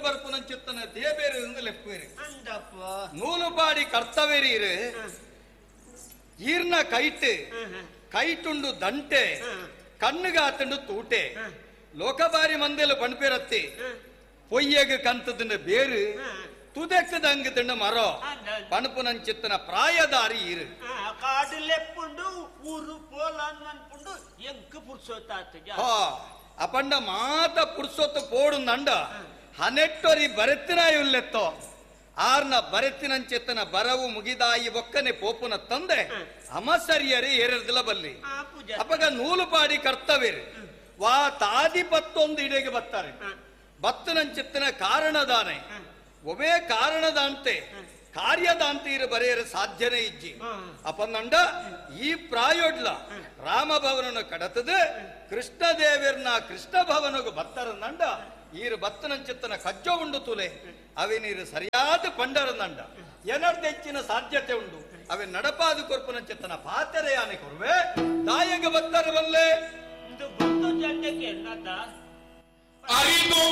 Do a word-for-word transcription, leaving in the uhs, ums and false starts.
ಬರ್ಪುನಂಚಿತ್ತನ ದೇಬೇರು ಎಂದು ಲೆಪ್ಪುವೇರು. ಅಂದಪ್ಪ ನೂಲುಪಾಡಿ ಕರ್ತವೇರಿರು ಈರ್ನ ಕೈಟ್ ಕೈಟುಂಡು ದಂಟೆ ಕಣ್ಣುಗಾತುಂಡು ತೂಟೆ ಲೋಕಬಾರಿ ಮಂದೆಲು ಪಣ್ಪೇರತ್ತಿ ಪೊಯ್ಯಗ ಕಂತದಿಂದ ಬೇರು ತುದೆಕ್ಕದಂಗದಿಂದ ಮರೋ ಪಣಪುನಂಚಿತ್ತನ ಪ್ರಾಯದಾರಿ ಇರು ಕಾಡು ಲೆಪ್ಪುಂಡು ಊರು ಪೋಲ ಅನ್ಪುಂಡು ಎಂಕ್ ಪುರ್ಸೊತ್ತಾತ. ಹಾ ಅಪಂಡ ಮಾತ ಪುರ್ಸೊತ್ತು ಪೋಡುಂದಂಡ ಹನೆಟ್ಟೊರಿ ಬರೆತ್ತಿನ ಇಲ್ಲೆತ್ತೋ ಆರ್ನ ಬರೆತ್ತಿನಂಚೆತ್ತನ ಬರವು ಮುಗಿದಾಯಿ ಒಕ್ಕನೆ ಪೋಪುನ ತಂದೆ ಅಮಸರಿಯರಿ ಏರಿರ್ದಿಲ್ಲ ಬಲ್ಲಿ ಅಪಗ ನೂಲುಪಾಡಿ ಕರ್ತವ್ಯರು ವಾ ತಾದಿ ಪತ್ತೊಂದು ಇಡೆಗೆ ಬತ್ತಾರೆ ಬತ್ತನಂಚಿತ್ತನ ಕಾರಣದಾನೆ ಒವೇ ಕಾರಣದಾಂತೆ ಕಾರ್ಯದಾಂತೆ ಇರು ಬರೆಯರು ಸಾಧ್ಯನೇ ಇಜ್ಜಿ. ಅಪನಂಡ ಈ ಪ್ರಾಯೋಡ್ಲ ರಾಮಭವನನ್ನು ಕಡತದ ಕೃಷ್ಣ ದೇವರ್ನ ಕೃಷ್ಣ ಭವನಗು ಬತ್ತರ ನಂಡ ಈರು ಬತ್ತನಂಚಿತ್ತನ ಕಜ್ಜ ಉಂಡು ತುಲೆ ಅವೆ ನೀರು ಸರಿಯಾದ ಪಂಡರ ನಂಡ ಎನರ್ದೆಚ್ಚಿನ ಸಾಧ್ಯತೆ ಉಂಡು ಅವೆ ನಡಪಾದ ಕೊರ್ಪುನಂಚಿತ್ತನ ಪಾತೆರೆ ಯಾನೆ ಕೊರುವೆ ತಾಯಗ ಬತ್ತರ ಬಲ್ಲೆ ಇದು ಬಂದು ಜಂಡಕ್ಕೆ ಎನ್ನದ ಅರಿದು.